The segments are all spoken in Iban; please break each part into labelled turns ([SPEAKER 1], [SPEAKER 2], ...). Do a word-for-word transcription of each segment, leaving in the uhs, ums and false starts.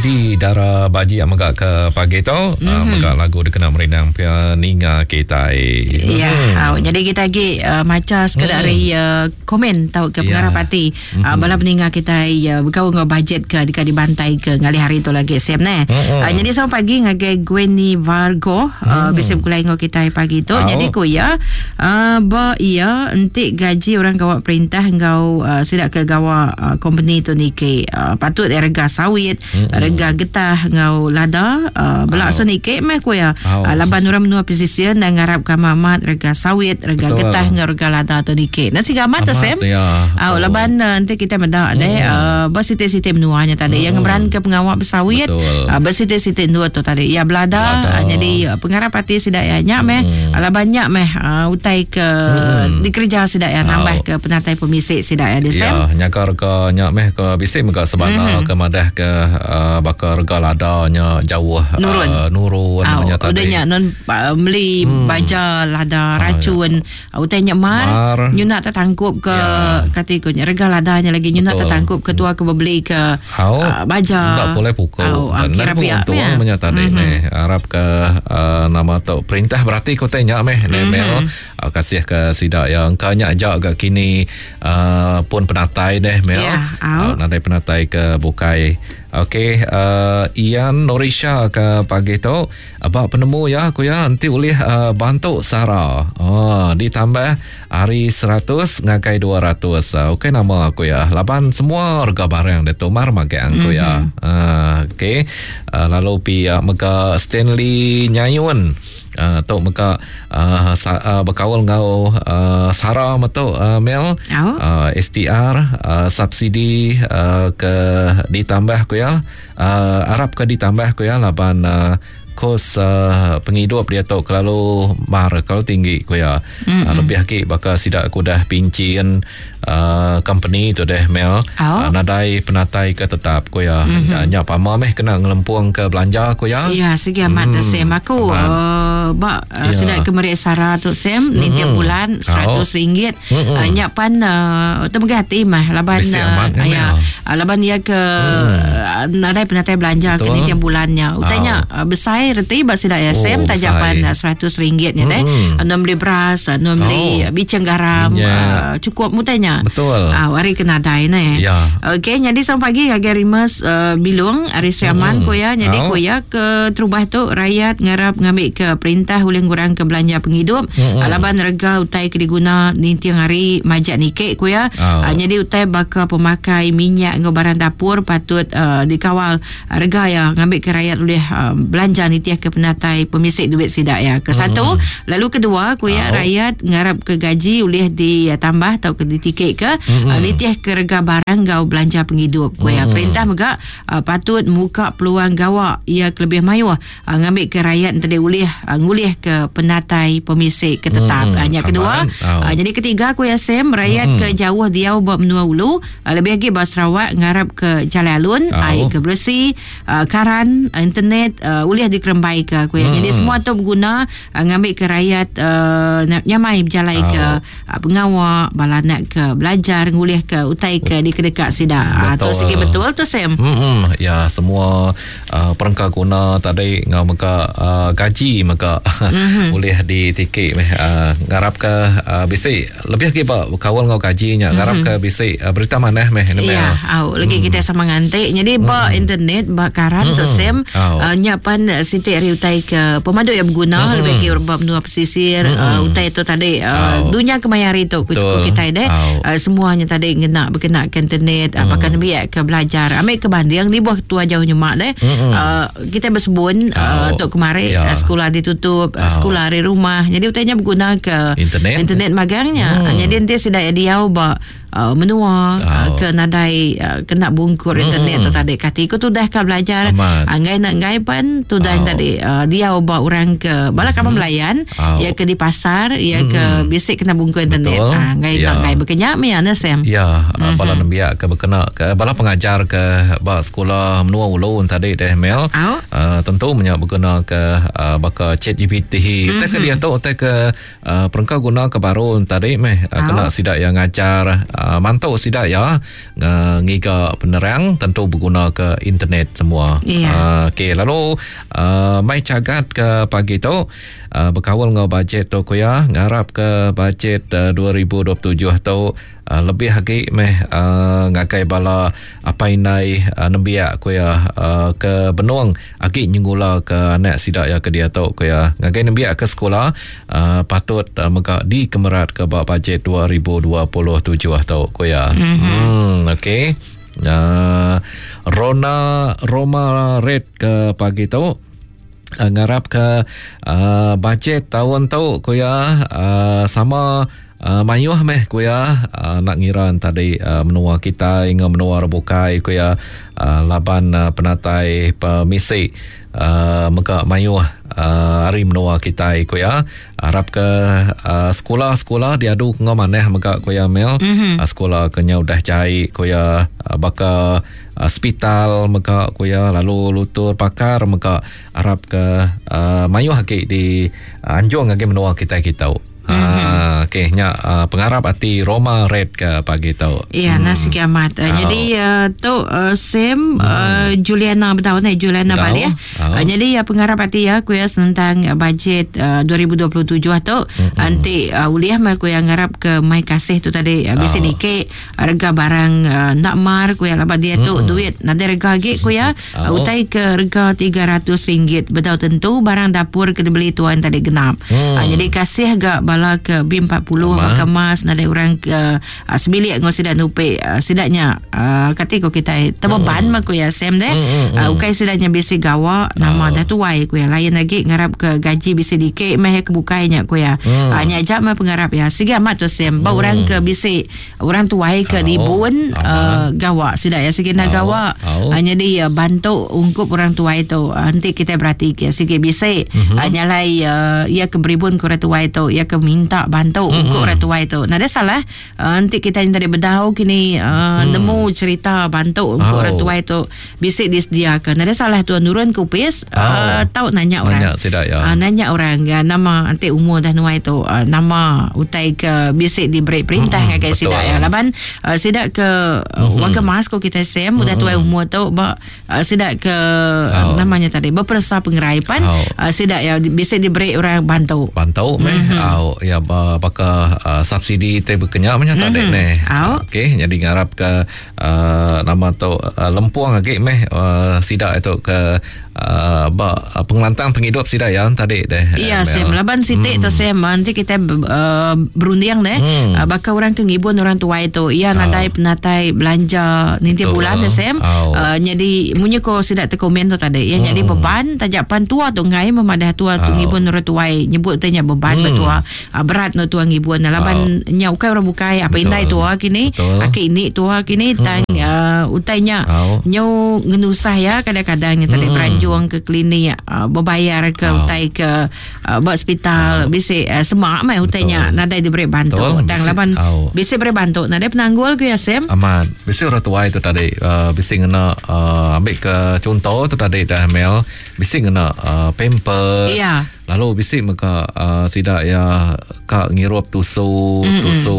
[SPEAKER 1] Di dara baji yang mega ke pagi tu mm-hmm. uh, mega lagu dikena merindang pia ninga kita.
[SPEAKER 2] Ya, mm. uh, jadi kita lagi uh, maca sekadar mm. dari uh, komen tau ke pengarap yeah. hati mm-hmm. uh, bala peninga kita uh, berkau ngau bajet ke dekat dibantai ke ngalih hari tu lagi Sam ne. Mm-hmm. Uh, jadi selamat pagi ngagai Gwenny Vargo uh, mm. bisa berkulai ngau kita pagi tu. Oh. Jadi ku ya uh, ba iya entik gaji orang gawak perintah ngau uh, sidak ke gawak uh, company tu nike uh, patut rega sawit mm-hmm. rega getah ngau lada uh, belak so nike meh ku ya oh. uh, laban orang menua pesisir dan ngarap ka amat rega sawit rega betul. Getah ngau rega lada tu nike. Nasi gamat tu Sam.
[SPEAKER 1] Ya.
[SPEAKER 2] Uh, laban uh, nanti kita medak mm. deh uh, bersiti-siti menuanya tadi mm. yang ngeberan ke pengawak bersawit uh, bersiti-siti dua tu tadi ya belada uh, jadi uh, pengarap hati sidak ya nyak meh mm. uh, banyak meh uh, utai ke mm. dikerja sidak ya nambah oh. ke penatai pemisik sidak ya di Sam.
[SPEAKER 1] Ya nyaka rega nyak meh ke bisik mega sebana mm. ke madah ke uh, bakal rega ladanya jauh
[SPEAKER 2] nurun
[SPEAKER 1] uh, nurun
[SPEAKER 2] oh,
[SPEAKER 1] tadi.
[SPEAKER 2] Udah nyak non uh, beli hmm. baja lada racun oh, ya. Utai nyak mar, mar. Nyu nak tertangkup ke ya. Katikunya rega ladanya lagi nyu nak tertangkup ke tua ke beli ke
[SPEAKER 1] oh,
[SPEAKER 2] uh, baja
[SPEAKER 1] tak boleh pukul
[SPEAKER 2] oh,
[SPEAKER 1] dan
[SPEAKER 2] kira pihak
[SPEAKER 1] untung punya tadi mm-hmm. nih harap ke uh, nama tu perintah berarti kau tanya meh mm-hmm. Mel uh, kasih ke sidak yang kanya ajak ke kini uh, pun penatai deh Mel
[SPEAKER 2] yeah,
[SPEAKER 1] uh, nadai penatai ke bukai. Okey, uh, Ian Norisha ke pagi tu abak penemu ya aku ya nanti boleh uh, bantu Sara. Oh, ditambah hari seratus ngagai dua ratus. Uh, okey nama aku ya. Laban semua harga barang dia tu mar magang aku mm-hmm. ya. Uh, okey. Uh, lalu pi uh, mega Stanley Nyayun. Uh, tok mega uh, sa, uh, berkaul ngau uh, Sara metu uh, Mel
[SPEAKER 2] oh.
[SPEAKER 1] uh, S T R uh, subsidi uh, ke ditambah ku ya uh, Arab ke ditambah ku ya laban uh, kos uh, penghidup dia tu kalau mar kalau tinggi ku ya mm-hmm. uh, lebih lagi bakal sidak aku dah pincin uh, company tu deh Mel
[SPEAKER 2] oh.
[SPEAKER 1] uh, nadai penatai ke tetap ku ya mm-hmm. nyak pama meh kena ngelempung ke belanja ku ya
[SPEAKER 2] ya segi amat mm. Sam aku uh, bak uh,
[SPEAKER 1] ya.
[SPEAKER 2] Sidak ke merik Sara tu Sam mm-hmm. ni tiap bulan seratus ringgit
[SPEAKER 1] mm-hmm.
[SPEAKER 2] uh, nyak pan uh, temegah hati mah laban uh, ya uh, laban dia ke mm. nadai penatai belanja ke ni tiap bulannya utanya oh. uh, besar reti bak sidak ya Sam
[SPEAKER 1] oh,
[SPEAKER 2] tajapan seratus ringgit nya deh mm. beli beras nu beli
[SPEAKER 1] oh.
[SPEAKER 2] bicang garam
[SPEAKER 1] yeah.
[SPEAKER 2] uh, cukup mutanya
[SPEAKER 1] betul
[SPEAKER 2] ah uh, hari kena dai ne
[SPEAKER 1] yeah.
[SPEAKER 2] Okey jadi sampai pagi ngagai Rimas uh, Bilung Ari Sriaman
[SPEAKER 1] mm.
[SPEAKER 2] ko ya jadi
[SPEAKER 1] oh.
[SPEAKER 2] ko ya ke terubah tu rakyat ngarap ngambil ke perintah ulih ngurang ke belanja penghidup
[SPEAKER 1] mm.
[SPEAKER 2] laban rega utai ke diguna ninting hari majak nikik ko ya
[SPEAKER 1] oh.
[SPEAKER 2] uh, jadi utai bakal pemakai minyak ngau barang dapur patut uh, dikawal rega ya ngambil ke rakyat ulih uh, belanja nitiah ke penatai pemisik duit sidak ya. Ke satu,
[SPEAKER 1] mm.
[SPEAKER 2] lalu kedua ku ya
[SPEAKER 1] oh.
[SPEAKER 2] rakyat ngarap ke gaji ulih ditambah atau ke ditikik ke
[SPEAKER 1] mm.
[SPEAKER 2] uh, nitiah ke rega barang gau belanja penghidup ku ya.
[SPEAKER 1] Mm.
[SPEAKER 2] Perintah mega uh, patut muka peluang gawak ia kelebih mayuh uh, ngambil ke rakyat tadi ulih uh, ngulih ke penatai pemisik ke tetap.
[SPEAKER 1] Mm.
[SPEAKER 2] Uh, yang kedua,
[SPEAKER 1] oh.
[SPEAKER 2] uh, jadi ketiga ku ya Sam rakyat
[SPEAKER 1] mm.
[SPEAKER 2] ke jauh diau ba menua ulu uh, lebih lagi ba Sarawak ngarap ke jalan alun
[SPEAKER 1] oh.
[SPEAKER 2] air ke bersih uh, karan internet uh, ulih dikerembai ke aku ya.
[SPEAKER 1] Hmm.
[SPEAKER 2] Jadi semua tu berguna uh, ngambil ke rakyat uh, nyamai berjalai
[SPEAKER 1] oh.
[SPEAKER 2] ke uh, pengawak balanak ke belajar ngulih ke utai ke di kedekat sidak. Uh, tu segi betul tu Sam.
[SPEAKER 1] Hmm, ya semua uh, perengka guna tadi ngau mega uh, gaji mega
[SPEAKER 2] mm-hmm.
[SPEAKER 1] boleh ditikik meh uh, ngarap ke uh, bisi lebih lagi ba kawal ngau gajinya ngarap
[SPEAKER 2] mm-hmm.
[SPEAKER 1] ke bisi uh, berita manah meh ni
[SPEAKER 2] Ya, au lagi
[SPEAKER 1] hmm.
[SPEAKER 2] kita sama ngantik. Jadi ba
[SPEAKER 1] hmm.
[SPEAKER 2] internet ba karan
[SPEAKER 1] hmm.
[SPEAKER 2] tu Sam
[SPEAKER 1] oh.
[SPEAKER 2] uh, nyapan siti hari utai ke pemadu yang berguna
[SPEAKER 1] mm-hmm.
[SPEAKER 2] lebih ke urban menua pesisir
[SPEAKER 1] mm-hmm.
[SPEAKER 2] uh, utai tu tadi uh,
[SPEAKER 1] oh.
[SPEAKER 2] dunia kemaya hari tu ku kita deh
[SPEAKER 1] oh.
[SPEAKER 2] uh, semuanya tadi ngena berkena ke internet mm. uh, bahkan biak ke belajar ambil ke banding di bawah tua jauh nyemak deh
[SPEAKER 1] mm-hmm.
[SPEAKER 2] uh, kita bersebun
[SPEAKER 1] oh.
[SPEAKER 2] uh, tok kemari
[SPEAKER 1] yeah.
[SPEAKER 2] uh, sekolah ditutup
[SPEAKER 1] oh.
[SPEAKER 2] uh, sekolah hari rumah jadi utainya berguna ke
[SPEAKER 1] internet
[SPEAKER 2] internet magangnya
[SPEAKER 1] mm.
[SPEAKER 2] uh, jadi nanti sudah dia ba uh, menua
[SPEAKER 1] oh.
[SPEAKER 2] uh, ke nadai uh, kena bungkur
[SPEAKER 1] mm.
[SPEAKER 2] internet tu tadi kati ku tu dah ka belajar
[SPEAKER 1] Amat.
[SPEAKER 2] Ngai nak ngai pan tu dah
[SPEAKER 1] oh.
[SPEAKER 2] tadi uh, dia ubah orang ke bala kamu melayan
[SPEAKER 1] oh.
[SPEAKER 2] ya ke di pasar ya
[SPEAKER 1] mm.
[SPEAKER 2] ke bisik kena bungkus internet ah ngai
[SPEAKER 1] ya.
[SPEAKER 2] nak ngai berkenyak me ana Sam
[SPEAKER 1] ya
[SPEAKER 2] mm-hmm.
[SPEAKER 1] bala nembiak ke berkena ke bala pengajar ke ba sekolah menua ulu tadi deh Mel
[SPEAKER 2] oh.
[SPEAKER 1] uh, tentu menyak berguna ke uh, baka Chat G P T
[SPEAKER 2] mm-hmm.
[SPEAKER 1] tak ke dia tu tak ke uh, perengka guna ke baru tadi meh uh,
[SPEAKER 2] oh.
[SPEAKER 1] kena sidak yang ngajar uh, mantu sida ya uh, ngiga penerang tentu berguna ke internet semua.
[SPEAKER 2] Yeah.
[SPEAKER 1] Uh, okey, lalu uh, mai cagat ke pagi tu uh, berkawal ngau bajet tu ku ya, ngarap ke bajet uh, dua ribu dua puluh tujuh tu uh, lebih lagi meh uh, ngagai bala apai indai uh, nembiak ku ya uh, ke benung agi nyengula ke anak sida ya ke dia tu ku ya. Ngagai nembiak ke sekolah uh, patut uh, mega dikemerat ke ba bajet dua ribu dua puluh tujuh tu ku ya.
[SPEAKER 2] Mm-hmm.
[SPEAKER 1] Hmm, okey. Uh, Rona Roma Red ke pagi tu uh, ngarap ke uh, bajet tahun tu ku ya uh, sama Uh, mayuh meh ku ya uh, nak ngira tadi uh, menua kita hingga menua rebukai ku ya uh, laban uh, penatai pemisi uh, mega mayuh uh, hari menua kita ku ya. Harap ke uh, sekolah-sekolah diadu ngau maneh mega ku ya Mel.
[SPEAKER 2] Mm-hmm.
[SPEAKER 1] Uh, sekolah kenya udah jai ku ya uh, baka uh, hospital mega ku ya, lalu lutur pakar mega harap ke uh, mayuh lagi di uh, anjung lagi menua kita kita.
[SPEAKER 2] Mm-hmm.
[SPEAKER 1] Ah, okey, nya uh, pengarap hati Roma Red ke pagi tu.
[SPEAKER 2] Ya,
[SPEAKER 1] hmm.
[SPEAKER 2] nasi kiamat. Uh,
[SPEAKER 1] Oh.
[SPEAKER 2] Jadi uh, tu uh, Sam
[SPEAKER 1] hmm.
[SPEAKER 2] uh, Juliana betul ni Juliana
[SPEAKER 1] Betul.
[SPEAKER 2] balik ya.
[SPEAKER 1] Oh.
[SPEAKER 2] Uh, jadi uh, pengarap hati ya ku ya tentang uh, bajet uh, dua ribu dua puluh tujuh tu
[SPEAKER 1] mm-hmm.
[SPEAKER 2] nanti uh, uliah mah ku yang ngarap ke mai kasih tu tadi uh, bisi
[SPEAKER 1] Oh.
[SPEAKER 2] dikit harga barang uh, nak mar ku ya laban dia tu
[SPEAKER 1] Mm-mm.
[SPEAKER 2] duit nada rega lagi ku ya
[SPEAKER 1] Oh.
[SPEAKER 2] uh, utai ke rega tiga ratus ringgit betul tentu barang dapur ke dibeli tuan tadi genap.
[SPEAKER 1] Hmm.
[SPEAKER 2] Uh, jadi kasih gak bala ke B empat puluh
[SPEAKER 1] Aman.
[SPEAKER 2] maka mas nada orang ke uh, sebilik ngau sidak nupe uh, sidaknya uh, kata ko kita terbeban hmm. mah ku ya Sam deh
[SPEAKER 1] Hmm, hmm,
[SPEAKER 2] uh,
[SPEAKER 1] hmm.
[SPEAKER 2] ukai sidaknya bisi gawa nama
[SPEAKER 1] Oh.
[SPEAKER 2] dah tuai ku ya lain lagi ngarap ke gaji bisi dikit meh ke bukainya ku ya
[SPEAKER 1] Hmm.
[SPEAKER 2] uh, nya ajak mah pengarap ya sige amat tu Sam ba
[SPEAKER 1] Hmm.
[SPEAKER 2] orang ke bisi orang tuai ke
[SPEAKER 1] Oh.
[SPEAKER 2] dibun uh,
[SPEAKER 1] Aman.
[SPEAKER 2] gawa sidak ya sige nak
[SPEAKER 1] Oh.
[SPEAKER 2] gawa
[SPEAKER 1] Oh.
[SPEAKER 2] uh, jadi uh, bantu ungkup orang tuai tu uh, nanti kita berhati ke sige bisi
[SPEAKER 1] Mhm.
[SPEAKER 2] uh, nyalai uh, ia ke beribun ke orang tuai tu ia ke minta bantu
[SPEAKER 1] Mm-mm.
[SPEAKER 2] mm-hmm. untuk orang tua itu. Nah, dia salah. Uh, nanti kita yang tadi bedau kini uh,
[SPEAKER 1] Mm.
[SPEAKER 2] nemu cerita bantu untuk
[SPEAKER 1] Oh.
[SPEAKER 2] orang tua itu bisik disediakan. Nah, dia salah tuan nurun kupis
[SPEAKER 1] Oh.
[SPEAKER 2] uh, tahu nanya orang.
[SPEAKER 1] Nanya sidak ya.
[SPEAKER 2] Uh, nanya orang uh, nama nanti umur dah nuai tu uh, nama utai ke bisik diberi perintah
[SPEAKER 1] Mm-mm,
[SPEAKER 2] ngagai
[SPEAKER 1] betul.
[SPEAKER 2] sidak ya. Laban uh, sidak ke uh,
[SPEAKER 1] Mhm.
[SPEAKER 2] warga mas ko kita sem udah
[SPEAKER 1] Mm-mm.
[SPEAKER 2] tuai umur tu ba uh, sidak ke uh,
[SPEAKER 1] Oh.
[SPEAKER 2] namanya tadi berpersa pengeraipan
[SPEAKER 1] Oh.
[SPEAKER 2] uh, sidak ya bisik diberi orang bantu.
[SPEAKER 1] Bantu meh
[SPEAKER 2] Mhm.
[SPEAKER 1] au ya ba, baka uh, subsidi te berkenyak macam mm-hmm. tadi ni.
[SPEAKER 2] Au.
[SPEAKER 1] Okey, jadi ngarap ke uh, nama tu uh, lempuang lagi meh uh, sidak itu ke uh, ba uh, pengelantang penghidup sidak ya tadi deh.
[SPEAKER 2] Iya,
[SPEAKER 1] Mel.
[SPEAKER 2] Sam. Laban sitik
[SPEAKER 1] Hmm.
[SPEAKER 2] tu Sam, nanti kita uh, berunding deh.
[SPEAKER 1] Hmm.
[SPEAKER 2] Uh, bakal orang ke ngibun orang tua itu. Iya, nadai penatai belanja ninti
[SPEAKER 1] Betul.
[SPEAKER 2] bulan deh Sam.
[SPEAKER 1] Au.
[SPEAKER 2] Uh, jadi munyi ko sidak terkomen tu tadi. Yang
[SPEAKER 1] Hmm.
[SPEAKER 2] jadi beban tajapan tua tu ngai memadah tua tu
[SPEAKER 1] Au.
[SPEAKER 2] ngibun orang tua nyebut tanya beban
[SPEAKER 1] Hmm.
[SPEAKER 2] betua. Uh, berat no tua ngibun. Laban nya ukai orang bukai apa
[SPEAKER 1] Betul.
[SPEAKER 2] indai tua kini,
[SPEAKER 1] Betul.
[SPEAKER 2] aki ini tua kini tang uh, utainya
[SPEAKER 1] Au.
[SPEAKER 2] nyo ngenusah ya kadang-kadang tadi
[SPEAKER 1] Hmm.
[SPEAKER 2] beranjung ke klinik uh, berbayar ke
[SPEAKER 1] Oh.
[SPEAKER 2] utai ke uh, buat hospital
[SPEAKER 1] Oh.
[SPEAKER 2] bisi uh, semak mai utainya
[SPEAKER 1] Betul.
[SPEAKER 2] nadai diberi bantu
[SPEAKER 1] Betul.
[SPEAKER 2] tang
[SPEAKER 1] Bisi-
[SPEAKER 2] laban
[SPEAKER 1] oh.
[SPEAKER 2] bisi beri bantu nadai penanggul ke ya Sam
[SPEAKER 1] Amat. Bisi orang tua itu tadi uh, bisi ngena uh, ambil ke contoh tu tadi dah Mel. Bisi ngena uh, pampers.
[SPEAKER 2] Ya.
[SPEAKER 1] Lalu bisi meka uh, sidak ya ka ngirup tusu mm-hmm. tusu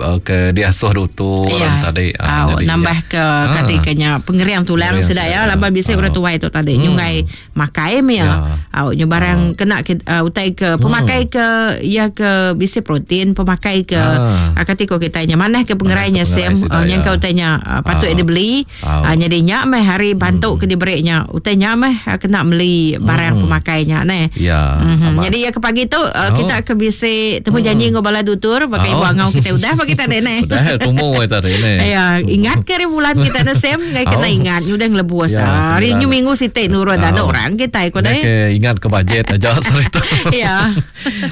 [SPEAKER 1] uh, ke diasuh dutu orang
[SPEAKER 2] Ya.
[SPEAKER 1] tadi.
[SPEAKER 2] Ah,
[SPEAKER 1] jadi
[SPEAKER 2] nambah
[SPEAKER 1] ya.
[SPEAKER 2] ke katikanya pengeriang tulang
[SPEAKER 1] Pengeriang
[SPEAKER 2] sedak ya
[SPEAKER 1] sedak,
[SPEAKER 2] laban bisi
[SPEAKER 1] Ah.
[SPEAKER 2] orang tua itu tadi
[SPEAKER 1] Hmm.
[SPEAKER 2] nyungai makai me ya.
[SPEAKER 1] Ya.
[SPEAKER 2] Au nyu barang kena ke, uh, utai ke pemakai ke ya ke bisi protein pemakai ke
[SPEAKER 1] Ah.
[SPEAKER 2] ah. katiko kitanya mana ke pengerainya
[SPEAKER 1] Mana ke
[SPEAKER 2] Sam
[SPEAKER 1] pengerai sedak,
[SPEAKER 2] uh, yang
[SPEAKER 1] ya.
[SPEAKER 2] kau utainya uh, patut
[SPEAKER 1] Ah.
[SPEAKER 2] dia beli
[SPEAKER 1] Ah.
[SPEAKER 2] uh, jadi nyak meh hari bantu ke diberinya utainya meh uh, kena beli barang
[SPEAKER 1] Hmm.
[SPEAKER 2] pemakainya neh.
[SPEAKER 1] Ya.
[SPEAKER 2] Mm-hmm.
[SPEAKER 1] Amat.
[SPEAKER 2] Jadi ya ke pagi tu uh,
[SPEAKER 1] Oh.
[SPEAKER 2] kita ke bisi temu janji ngau bala dutur pakai
[SPEAKER 1] Oh.
[SPEAKER 2] ibu angau kita udah pagi tadi neh.
[SPEAKER 1] Udah tumu we tadi ni.
[SPEAKER 2] Ya, ingat ke hari bulan kita na Sam ngai kena
[SPEAKER 1] Oh.
[SPEAKER 2] ingat udah ngelebus.
[SPEAKER 1] Ya,
[SPEAKER 2] Ya, hari
[SPEAKER 1] sembilan.
[SPEAKER 2] ni minggu sitik nurut ada
[SPEAKER 1] Oh.
[SPEAKER 2] orang kita ikut
[SPEAKER 1] Dah
[SPEAKER 2] deh.
[SPEAKER 1] ke ingat ke bajet aja cerita.
[SPEAKER 2] Ya.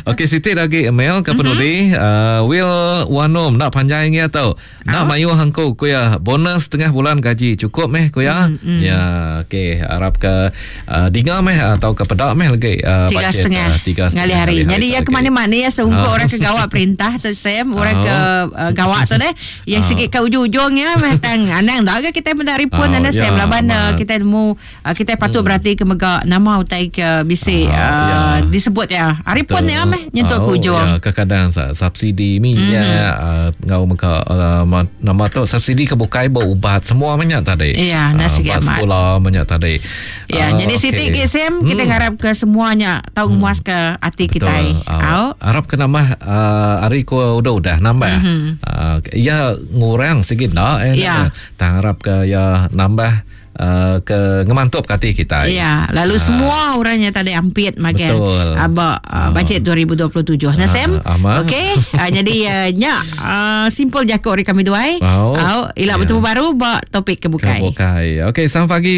[SPEAKER 1] Okey Siti lagi email ke penudi mm-hmm. uh, Will Wanom nak panjang ya tau. Nak mayu hangku ku ya bonus setengah bulan gaji cukup meh ku ya.
[SPEAKER 2] Mm-hmm.
[SPEAKER 1] Ya okey harap ke uh, dinga meh atau ke pedak meh lagi uh,
[SPEAKER 2] Tiga
[SPEAKER 1] bajet
[SPEAKER 2] setengah
[SPEAKER 1] tiga setengah
[SPEAKER 2] ngalih hari.
[SPEAKER 1] ngalih
[SPEAKER 2] Jadi ya
[SPEAKER 1] tu
[SPEAKER 2] ke mana-mana ya seungkup
[SPEAKER 1] Ah.
[SPEAKER 2] orang ke gawak perintah tu Sam, orang
[SPEAKER 1] Ah.
[SPEAKER 2] ke uh, gawak tu deh. Ya
[SPEAKER 1] Ah.
[SPEAKER 2] sikit ke ujung-ujung ya meh tang anang dah ke kita benda ripun
[SPEAKER 1] Ah,
[SPEAKER 2] anda Sam
[SPEAKER 1] ya,
[SPEAKER 2] laban uh,
[SPEAKER 1] amat.
[SPEAKER 2] kita nemu uh, kita patut berarti ke mega nama utai ke bisi
[SPEAKER 1] Ah,
[SPEAKER 2] uh,
[SPEAKER 1] ya.
[SPEAKER 2] disebut ya. Hari pun
[SPEAKER 1] Betul.
[SPEAKER 2] ya meh nyentuk ke
[SPEAKER 1] Oh,
[SPEAKER 2] ujung.
[SPEAKER 1] Ya, kadang-kadang sa- subsidi minyak mm-hmm. uh, ngau meka uh, ma- nama tu subsidi ke bukai berubat semua banyak tadi.
[SPEAKER 2] Ya, nasi
[SPEAKER 1] Ah,
[SPEAKER 2] amat.
[SPEAKER 1] sekolah banyak tadi.
[SPEAKER 2] Ya,
[SPEAKER 1] Ah,
[SPEAKER 2] jadi
[SPEAKER 1] okey.
[SPEAKER 2] Siti ke Sam kita harap ke semuanya tahu hmm. muas ke hati kita.
[SPEAKER 1] Betul.
[SPEAKER 2] Au.
[SPEAKER 1] Uh, harap ke nambah uh, hari ku udah-udah nambah. Mm-hmm. Uh, ya ngurang sikit nak eh.
[SPEAKER 2] Ya.
[SPEAKER 1] Tak harap ke ya nambah uh, ke ngemantup ke hati kita.
[SPEAKER 2] Ya, lalu uh, semua orangnya tadi ampit makan.
[SPEAKER 1] Betul.
[SPEAKER 2] Aba uh, bajet dua ribu dua puluh tujuh. Nah,
[SPEAKER 1] Ah,
[SPEAKER 2] Sam.
[SPEAKER 1] aman.
[SPEAKER 2] Okey. Uh, jadi uh, nya uh, simple jakok hari kami duai.
[SPEAKER 1] Au.
[SPEAKER 2] Au, ila
[SPEAKER 1] Ya.
[SPEAKER 2] bertemu baru ba topik kebukai.
[SPEAKER 1] Kebukai. Okey, selamat pagi.